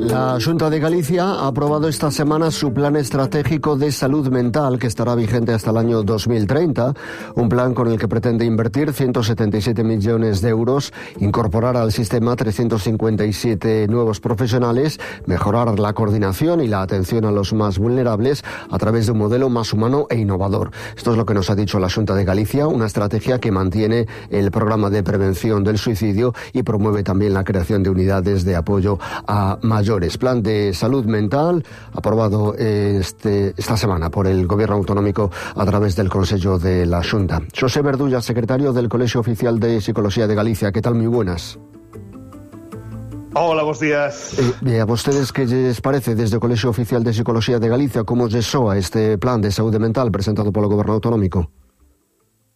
La Xunta de Galicia ha aprobado esta semana su plan estratégico de salud mental que estará vigente hasta el año 2030, un plan con el que pretende invertir 177 millones de euros, incorporar al sistema 357 nuevos profesionales, mejorar la coordinación y la atención a los más vulnerables a través de un modelo más humano e innovador. Esto es lo que nos ha dicho la Xunta de Galicia, una estrategia que mantiene el programa de prevención del suicidio y promueve también la creación de unidades de apoyo a mayores. Plan de salud mental aprobado esta semana por el Gobierno Autonómico a través del Consello de la Xunta. Xosé Verdulla, secretario del Colegio Oficial de Psicología de Galicia. ¿Qué tal? Muy buenas. Hola, buenos días. A vostedes, ¿qué les parece desde o Colegio Oficial de Psicología de Galicia como lle soa este plan de saúde mental presentado polo Goberno Autonómico?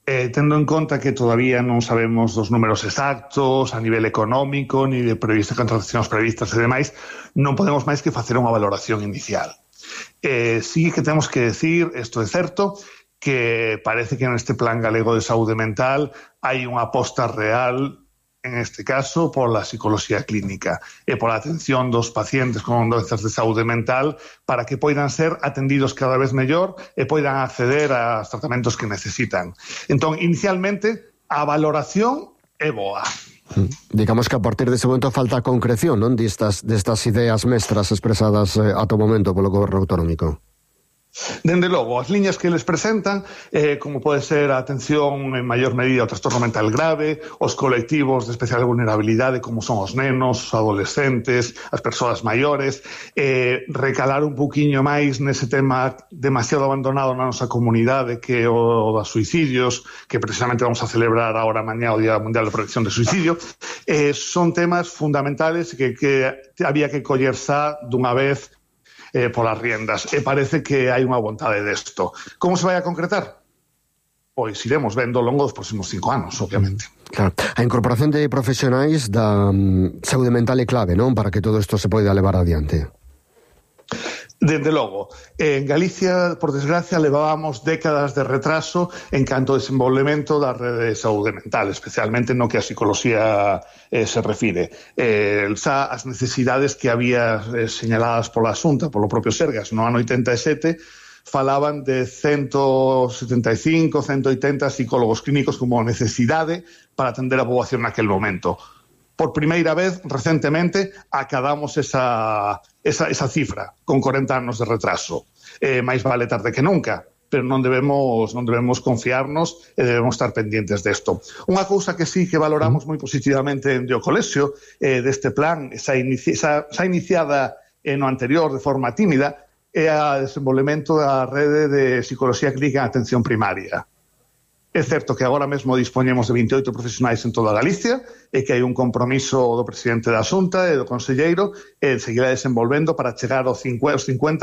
Tendo en conta que todavía non sabemos dos números exactos a nivel económico, ni de previstas contratacións previstas e demais, non podemos máis que facer unha valoración inicial. Sí que temos que decir, isto é certo, que parece que neste plan galego de saúde mental hai unha aposta real, en este caso, por la psicología clínica e por la atención dos pacientes con doenzas de saúde mental para que poidan ser atendidos cada vez mellor e poidan acceder aos tratamentos que necesitan. Entón, inicialmente, a valoración é boa. Digamos que a partir dese momento falta a concreción, non, destas ideas mestras expresadas ata o momento polo Goberno Autonómico. Dende logo, as liñas que les presentan, como pode ser a atención en maior medida ao trastorno mental grave, os colectivos de especial vulnerabilidade como son os nenos, os adolescentes, as persoas maiores, recalar un poquinho máis nese tema demasiado abandonado na nosa comunidade que é o dos suicidios, que precisamente vamos a celebrar agora mañá o Día Mundial de Prevención de Suicidio. Son temas fundamentales que había que coller xa dunha vez polas riendas, e parece que hai unha vontade desto. Como se vai a concretar? Pois iremos vendo ao longo dos próximos 5 anos, obviamente. Claro. A incorporación de profesionais da saúde mental é clave, non? Para que todo isto se poida levar adiante. Dende logo, en Galicia, por desgracia, levábamos décadas de retraso en canto ao desenvolvemento da rede de saúde mental, especialmente no que a psicología se refire. Xa as necesidades que había señaladas pola Xunta, polo propio Sergas, no ano 87, falaban de 175, 180 psicólogos clínicos como necesidade para atender a poboación naquel momento. Por primeira vez, recentemente, acadamos esa cifra, con 40 anos de retraso. Máis vale tarde que nunca, pero non debemos confiarnos e debemos estar pendientes desto. Unha cousa que sí que valoramos moi positivamente en o colexio deste plan, xa iniciada no anterior de forma tímida, é o desenvolvemento da rede de psicología clínica en atención primaria. É certo que agora mesmo dispoñemos de 28 profesionais en toda Galicia e que hai un compromiso do presidente da Xunta e do conselleiro e seguirá desenvolvendo para chegar aos 50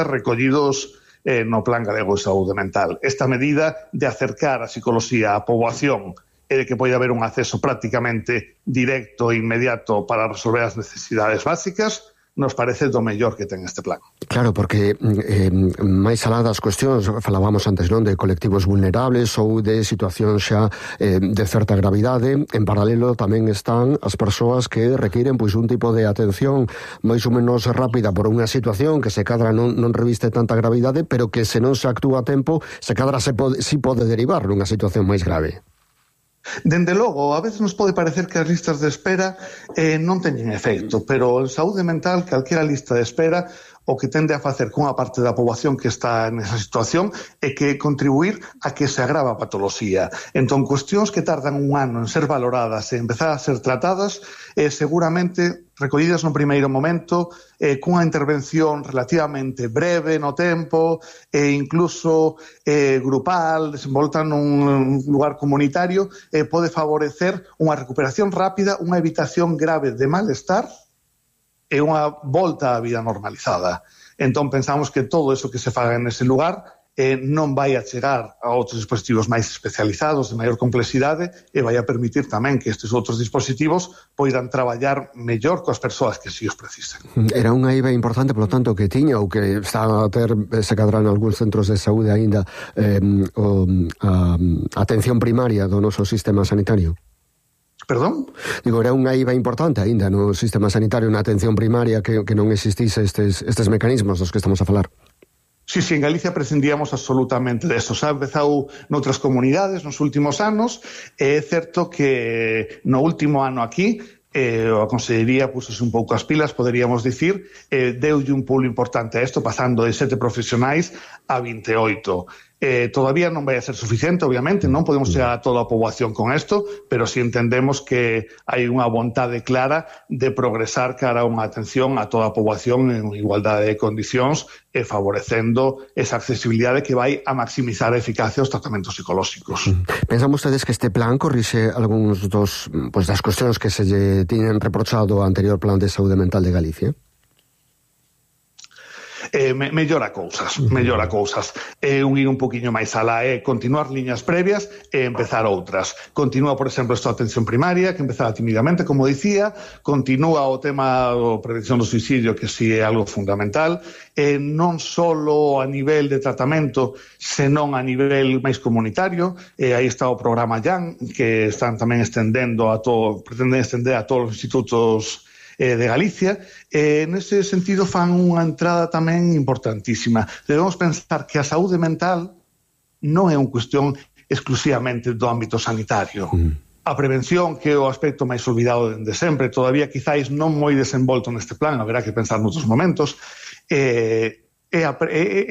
recollidos no Plan Galego de Saúde Mental. Esta medida de acercar a psicología á poboación e de que pode haber un acceso prácticamente directo e inmediato para resolver as necesidades básicas nos parece do mellor que ten este plan. Claro, porque máis alá das cuestións, falábamos antes, non, de colectivos vulnerables ou de situacións xa de certa gravidade, en paralelo tamén están as persoas que requiren pois un tipo de atención máis ou menos rápida por unha situación que se cadra non reviste tanta gravidade, pero que se non se actúa a tempo, se cadra si pode derivar nunha situación máis grave. Dende logo, a veces nos pode parecer que as listas de espera non teñen efecto, pero en saúde mental, calquera lista de espera, o que tende a facer cunha parte da poboación que está nesa situación é que contribuir a que se agrava a patoloxía. Entón, cuestións que tardan un ano en ser valoradas e empezar a ser tratadas, seguramente recollidas no primeiro momento, cunha intervención relativamente breve no tempo, e incluso grupal, desenvolta nun lugar comunitario, pode favorecer unha recuperación rápida, unha evitación grave de malestar e unha volta á vida normalizada. Entón, pensamos que todo eso que se faga nese lugar non vai a chegar a outros dispositivos máis especializados, de maior complexidade, e vai a permitir tamén que estes outros dispositivos poidan traballar mellor coas persoas que si os precisen. Era unha IVA importante, polo tanto, que tiña ou que está a ter, se cadrán algúns centros de saúde aínda, a atención primaria do noso sistema sanitario? Perdón? Digo, era unha IVA importante aínda no sistema sanitario, na atención primaria, que non existise estes mecanismos dos que estamos a falar. Sí, en Galicia prescindíamos absolutamente deso. Ha empezado noutras comunidades nos últimos anos, e é certo que no último ano aquí a Consellería pusose un pouco as pilas, poderíamos dicir, deulle un pulo importante a isto, pasando de 7 profesionais a 28. Todavía non vai a ser suficiente, obviamente, non podemos chegar a toda a poboación con isto, pero si entendemos que hai unha vontade clara de progresar cara a unha atención a toda a poboación en igualdade de condicións e favorecendo esa accesibilidade que vai a maximizar a eficacia dos tratamentos psicolóxicos. Pensan vostedes que este plan corrixe algúns das cuestións que se lle tiñen reprochado ao anterior plan de saúde mental de Galicia? Mellora cousas. Ir un poquinho máis alá, continuar liñas previas e empezar outras. Continúa, por exemplo, esta atención primaria, que empezaba timidamente, como dicía, continúa o tema da prevención do suicidio, que si é algo fundamental, non só a nivel de tratamento, senón a nivel máis comunitario. Aí está o programa YAN, que están tamén pretenden estender a todos os institutos de Galicia. Nese sentido fan unha entrada tamén importantísima. Debemos pensar que a saúde mental non é unha cuestión exclusivamente do ámbito sanitario. A prevención, que é o aspecto máis olvidado dende sempre, todavía quizáis non moi desenvolto neste plan, haberá que pensar noutros momentos, é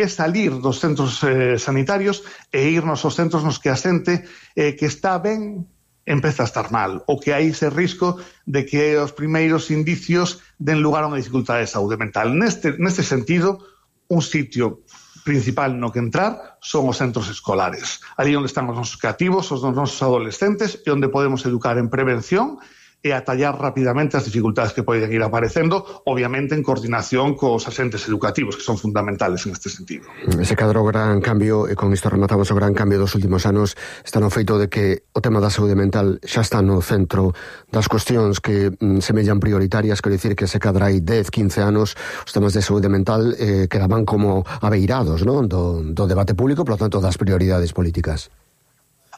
salir dos centros sanitarios e irnos aos centros nos que a xente que está ben empeza a estar mal, ou que hai ese risco de que os primeiros indicios den lugar a unha dificultade de saúde mental. Neste sentido, un sitio principal no que entrar son os centros escolares. Ali onde están os nosos cativos, os nosos adolescentes, e onde podemos educar en prevención e atallar rapidamente as dificultades que poden ir aparecendo, obviamente en coordinación cos agentes educativos, que son fundamentales en este sentido. Se cadra o gran cambio, e con isto rematamos o gran cambio dos últimos anos, está no feito de que o tema da saúde mental xa está no centro das cuestións que semellan prioritarias, quero dicir que se cadra hai 10, 15 anos, os temas de saúde mental quedaban como abeirados, non? Do debate público, por lo tanto, das prioridades políticas.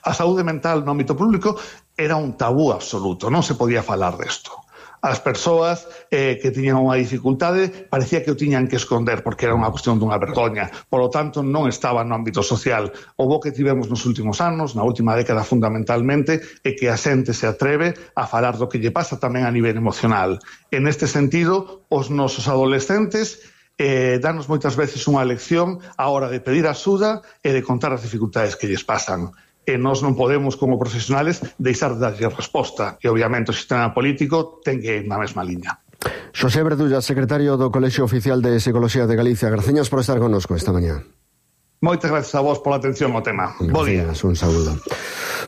A saúde mental no ámbito público era un tabú absoluto, non se podía falar desto. As persoas que tiñan unha dificultade parecía que o tiñan que esconder porque era unha cuestión dunha vergoña. Por lo tanto, non estaba no ámbito social. O bo que tivemos nos últimos anos, na última década fundamentalmente, é que a xente se atreve a falar do que lle pasa tamén a nivel emocional. En este sentido, os nosos adolescentes danos moitas veces unha lección á hora de pedir axuda e de contar as dificultades que lles pasan. E nós non podemos, como profesionales, deixar de darlle resposta. E, obviamente, o sistema político ten que ir na mesma liña. Xosé Verdulla, secretario do Colexio Oficial de Psicología de Galicia. Graciñas por estar connosco esta mañá. Moitas gracias a vos pola atención ao tema. Bo día. Un saúdo.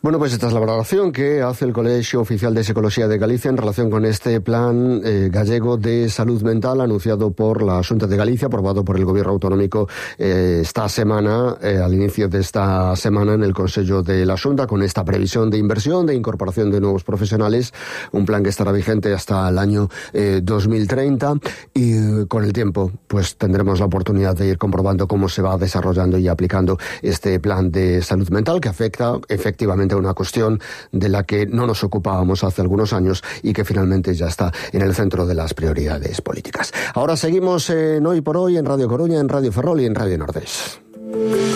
Bueno, pues esta es la valoración que hace el Colegio Oficial de Psicología de Galicia en relación con este plan gallego de salud mental anunciado por la Xunta de Galicia, aprobado por el Gobierno Autonómico esta semana, al inicio de esta semana en el Consello de la Xunta, con esta previsión de inversión, de incorporación de nuevos profesionales, un plan que estará vigente hasta el año 2030 y con el tiempo pues tendremos la oportunidad de ir comprobando cómo se va desarrollando y aplicando este plan de salud mental que afecta efectivamente a una cuestión de la que no nos ocupábamos hace algunos años y que finalmente ya está en el centro de las prioridades políticas. Ahora seguimos en Hoy por Hoy, en Radio Coruña, en Radio Ferrol y en Radio Nordés.